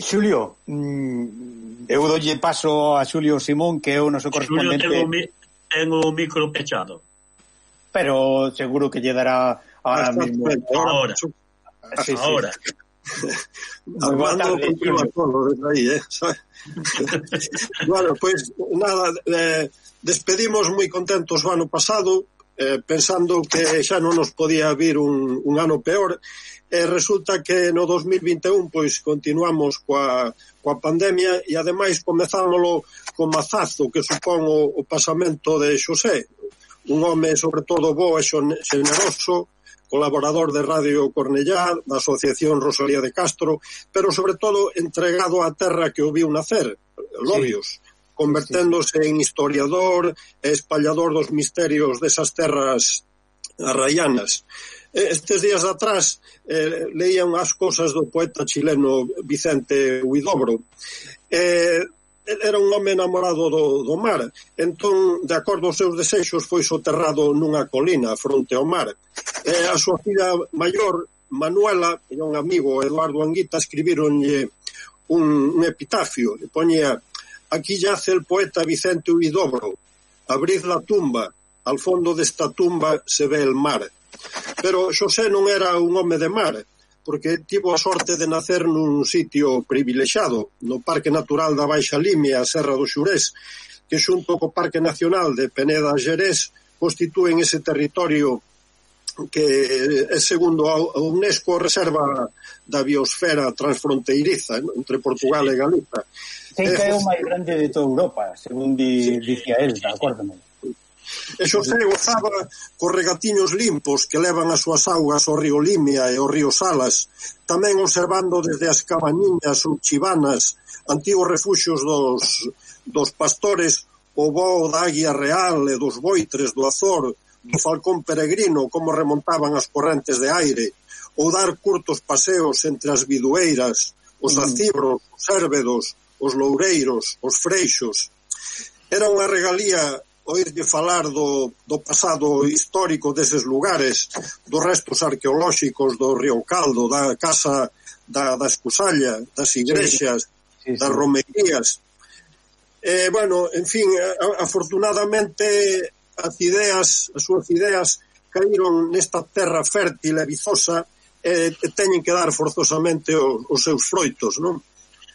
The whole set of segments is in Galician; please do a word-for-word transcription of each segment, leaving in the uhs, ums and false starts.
Xulio, mm, eu dolle paso a Xulio Simón, que é o noso correspondente. Xulio, tengo, tengo o micro pechado. Pero seguro que lle dará ahora mismo. Ahora. Sí, ahora. Sí. Armando continúa todo desde aí, eh? Bueno, pois pues, nada, eh, despedimos moi contentos o ano pasado, eh, pensando que xa non nos podía vir un, un ano peor. E resulta que no dos mil vinte e un pois continuamos coa, coa pandemia e ademais comezámoslo con mazazo que supón o, o pasamento de Xosé, un home sobre todo bo e xeneroso, colaborador de Radio Cornellá, da Asociación Rosalía de Castro, pero sobre todo entregado á terra que o viu nacer, Lobios, sí. Converténdose sí, sí. en historiador e espallador dos misterios desas terras arraianas. Estes días atrás eh, leía unhas cosas do poeta chileno Vicente Huidobro. Eh, era un home enamorado do, do mar, entón, de acordo aos seus desexos, foi soterrado nunha colina fronte ao mar. Eh, a súa filha maior, Manuela, e un amigo, Eduardo Anguita, escribironlle un, un epitafio, e poñía: aquí yace el poeta Vicente Huidobro, abrid la tumba, al fondo desta tumba se ve el mar. Pero Xosé non era un home de mar, porque tivo a sorte de nacer nun sitio privilexiado, no Parque Natural da Baixa Limia, a Serra do Xurés, que xunto co Parque Nacional de Peneda Xerés constitúen ese territorio que é segundo a UNESCO reserva da biosfera transfronteiriza entre Portugal e Galiza. Sei que é o máis grande de toda Europa, según di, dicía él, acórdame. E Xosé gozaba cos regatiños limpos que levan as súas augas ao río Limia e ao río Salas, tamén observando desde as cabañiñas ou chivanas, antigos refuxios dos, dos pastores, o voo da águia real e dos boitres do Azor, do falcón peregrino, como remontaban as correntes de aire, ou dar curtos paseos entre as bidueiras, os acibros, os érvedos, os loureiros, os freixos. Era unha regalía oírlle falar do, do pasado histórico deses lugares, dos restos arqueolóxicos do Río Caldo, da casa da, da Escusalla, das igrexas, sí, sí, sí. das romerías. Eh, bueno, en fin, afortunadamente as ideas, as súas ideas caíron nesta terra fértil e vizosa e eh, teñen que dar forzosamente os, os seus froitos, non?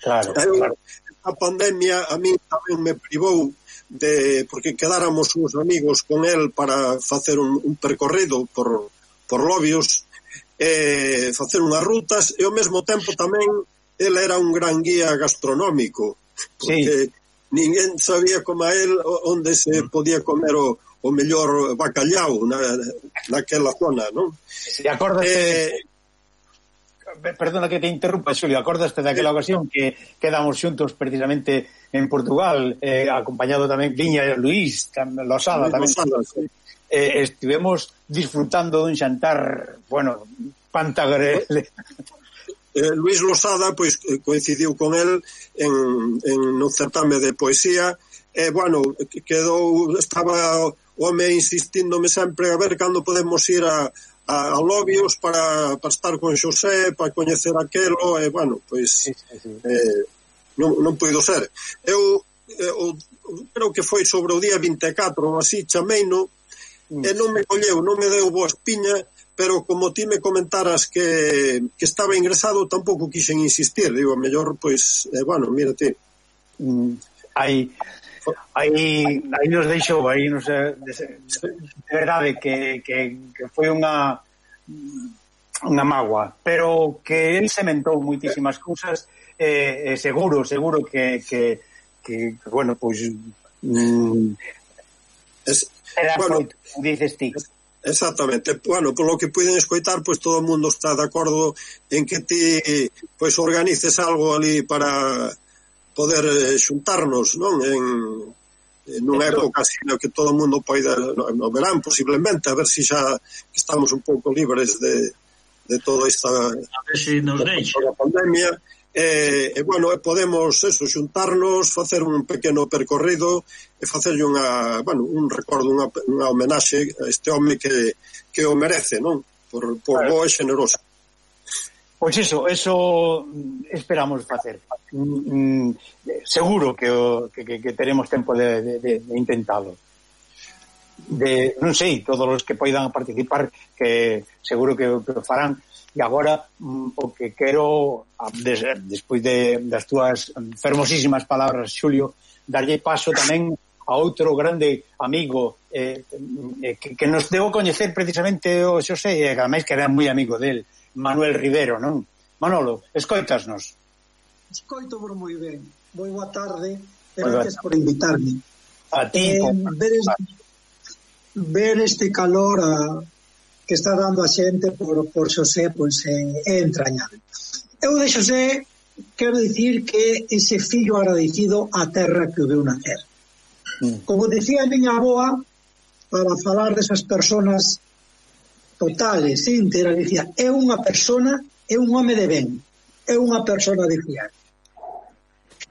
Claro, eh, claro. A pandemia a mí tamén me privou de, porque quedáramos uns amigos con el para facer un, un percorrido por, por Lobios, eh, facer unhas rutas, e ao mesmo tempo tamén el era un gran guía gastronómico, porque sí, ninguén sabía como a el onde se podía comer o, o mellor bacallau na, naquela zona, non? E acordaste... Eh, Perdona que te interrumpa, Xulio, acordaste daquela ocasión que quedamos xuntos precisamente en Portugal, eh, acompañado tamén Viña Luís Losada tamén. Losada, sí. eh, estivemos disfrutando dun xantar, bueno, pantagrele. Eh, Luís Losada, pois, coincidiu con el en, en no certame de poesía, e, eh, bueno, quedou, estaba o home insistíndome sempre a ver cando podemos ir a a, a Lobios para, para estar con Xosé, para coñecer aquelo, e, bueno, pois sí, sí, sí. Eh, non, non puido ser. Eu, eu creo que foi sobre o día vinte e catro ou así, chameino, mm. e non me colleu, non me deu boa espiña, pero como ti me comentaras que, que estaba ingresado, tampouco quixen insistir, digo, mellor, pois, eh, bueno, mira ti. Mm. Aí... aí aí nos deixou, aí nos, de, de verdade que, que, que foi unha unha mágoa, pero que el sementou moitísimas cousas, e eh, seguro, seguro que, que, que bueno, pois mm, es, era bueno, foi, dices ti. Exactamente, bueno, polo que puiden escoitar, pois todo o mundo está de acordo en que ti pois organices algo ali para poder eh, xuntarnos, non? En, en unha época así no que todo o mundo poida, no, no verán posiblemente, a ver se si xa estamos un pouco libres de, de toda esta a ver se si nos deixa a pandemia, e, e bueno, podemos eso, xuntarnos, facer un pequeno percorrido e facerlle unha, bueno, un recordo, unha, unha homenaxe a este home que, que o merece, non? Por, por bo e xeneroso. Pois iso, eso esperamos facer. Mm, seguro que, o, que, que teremos tempo de, de, de, de intentalo. De, non sei, todos os que poidan participar, que seguro que, que o farán. E agora, o que quero, des, despois de, das túas fermosísimas palabras, Xulio, darlle paso tamén a outro grande amigo eh, que, que nos deu a coñecer precisamente o Xosé, e ademais que era moi amigo del, Manuel Rivero, non? Manolo, escoitasnos. Escoito por moi ben. Moi boa tarde, e gracias por invitarme. A ti. Eh, ver, este, ver este calor a, que está dando a xente por, por Xosé, pois é, é entrañable. Eu de Xosé quero dicir que ese fillo agradecido á terra que o veu nacer. Mm. Como dicía a miña aboa, para falar desas personas totales, íntegras, dicía, é unha persona, é un home de ben, é unha persona de fiar.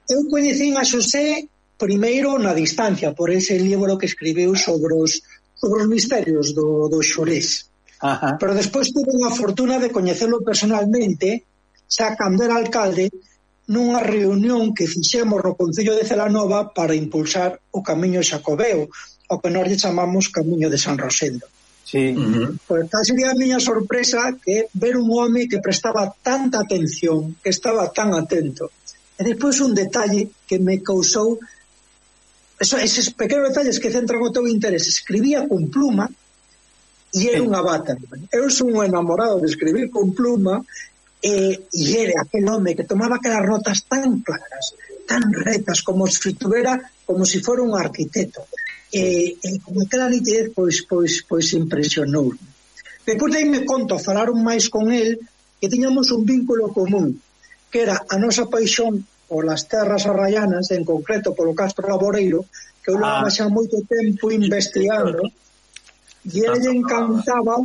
Eu coñecín a Xosé primeiro na distancia, por ese libro que escribiu sobre os, sobre os misterios do, do Xurés. Ajá. Pero despois tuve unha fortuna de coñecelo personalmente, xa cando era alcalde, nunha reunión que fixemos no Concello de Celanova para impulsar o Camiño Xacobeo, o que nós lle chamamos Camiño de San Rosendo. Sí. Uh-huh. Pois tal sería a miña sorpresa que ver un home que prestaba tanta atención, que estaba tan atento. E depois un detalle que me causou eso, eses pequenos detalles que centran o teu interés. Escribía con pluma e era unha bata. Eu son un enamorado de escribir con pluma e, e era aquel home que tomaba aquelas notas tan claras, tan retas, como se tuvera, como se si fora un arquitecto. E, e con aquela nitidez pois, pois, pois impresionou. Depois de aí me conto, falaron máis con el, que tiñamos un vínculo común, que era a nosa paixón polas terras arraianas, en concreto polo Castro Laboreiro, que eu levaba xa moito tempo investigando, e ele lle encantaba,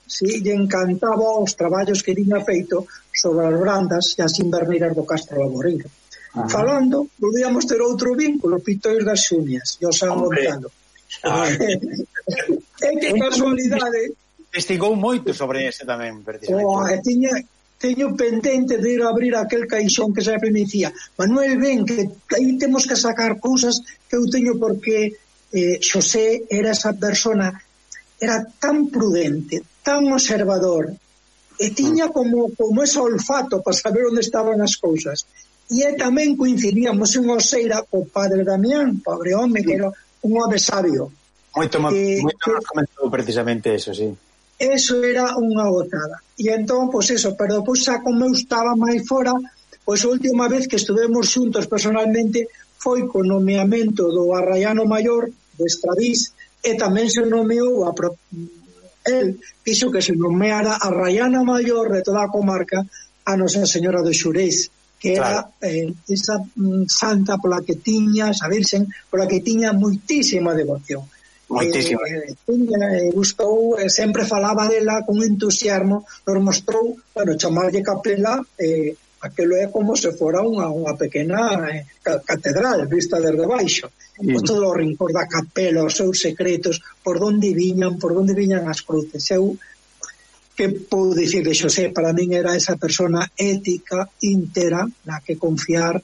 sí, lle encantaba os traballos que tiña feito sobre as brandas e as inverneiras do Castro Laboreiro. Ajá. Falando, volvíamos ter outro vínculo, Pitois das Xumias e o San Montano. É que casualidade. Investigou moito sobre ese tamén, precisamente. Oh, tiña, teño pendente de ir a abrir aquel caixón que sempre me dicía, Manuel, ven, que aí temos que sacar cousas que eu teño, porque eh, Xosé era esa persona, era tan prudente, tan observador, e tiña como, como ese olfato para saber onde estaban as cousas. E tamén coincidíamos en Oseira co padre Damián, pobre home, que era un home sabio. Moito, eh, moito nos comentou precisamente eso, sí. Eso era unha gotada. E entón, pois eso, pero depois xa como eu estaba máis fora, pois a última vez que estuvemos xuntos personalmente foi co nomeamento do Arraiano Maior de Estradís, e tamén se nomeou a pro... el fixo que se nomeara Arraiana Maior de toda a comarca a Nosa Señora do Xurés, que era claro. eh, esa mm, santa pola que tiña, a Virxen, pola que tiña moitísima devoción. Moitísima. Eh, eh, gustou, eh, sempre falaba dela con entusiasmo, nos mostrou, bueno, chamarlle capela, eh, aquilo é como se fora unha, unha pequena eh, catedral vista desde baixo. Sí. Pues todo o rincón da capela, os seus secretos, por onde viñan, por onde viñan as cruces. Eu que podo dicir de Xosé, para min era esa persona ética, íntegra, na que confiar,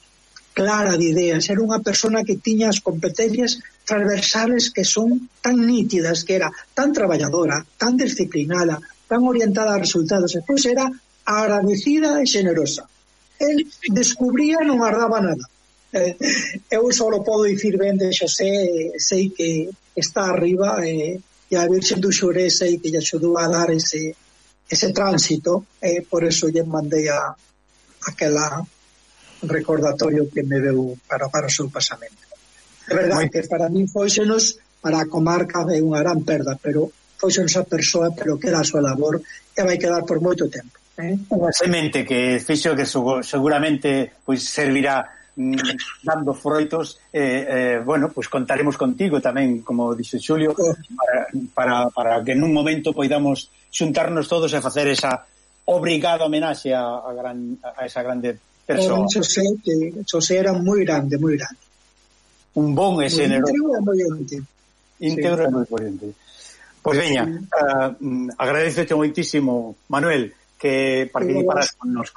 clara de ideas, era unha persona que tiña as competencias transversales que son tan nítidas, que era tan traballadora, tan disciplinada, tan orientada a resultados, e pois era agradecida e generosa. El descubría e non guardaba nada. Eh, eu só podo dicir ben de Xosé, sei que está arriba, e, e a Virxen do Xurés sei que lle axudou a dar ese ese tránsito, e eh, por eso lle mandei a aquela recordatorio que me deu para, para o seu pasamento. É verdade que para mí foixenos, para a comarca é unha gran perda, pero foixenos a persoa, pero que era a súa labor e vai quedar por moito tempo. Eh? Unha semente que fixo que seguramente pois servirá mm, dando froitos, eh, eh, bueno, pois contaremos contigo tamén, como dixo Xulio, para, para, para que nun momento poidamos xuntarnos todos e facer esa obrigada homenaxe a, a, gran, a esa grande persoa. O Xosé, que Xosé era moi grande, moi grande. Un bon e generoso. Íntegro e moi grande. Íntegro e moi grande. Pois veña, sí. uh, agradecete moitísimo, Manuel, que participaras con nos.